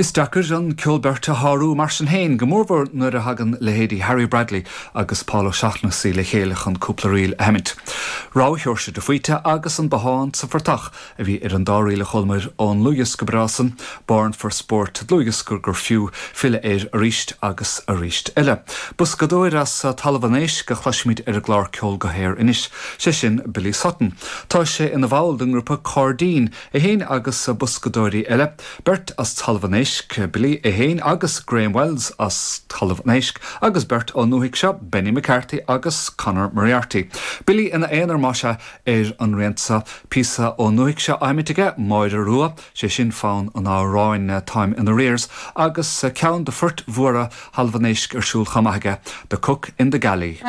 Is deacair an ceol beirte a shárú mar sin féin, go mórmhór nuair a thagann leithéidí Harry Bradley agus Paul O'Shaughnessy le chéile chun cúpla ríl a sheimint. Rogha Sheoirse de Faoite agus An Bothán sa Phortach a bhí ar an dá ríl a chualamar ón ndlúthdhiosca breá san, Born for Sport, dlúthdhiosca gur fiú filleadh air arís agus arís eile. Boscadóir as Talamh an Éisc a chloisfimid ar an gclár Ceol go hAer anois, sé sin Billy Sutton. Tá sé ina bhall den ngrúpa Cairdín, é féin agus boscadóirí eile. Beirt as Talamh an Éisc, Billy é féin agus Graham Wells as Talamh an Éisc, agus beirt ón ndúthaigh seo, Benny McCarthy agus Conor Moriarty. Billy ina aonar, más ea, ar an rian seo. Píosa ón ndúthaigh seo á sheimint aige, Máire Rua, sé sin fonn an amhráin Táim in Arrears, agus ceann de phoirt mhóra Thalamh an Éisc ar siúl chomh maith aige, The Cook in the Galley.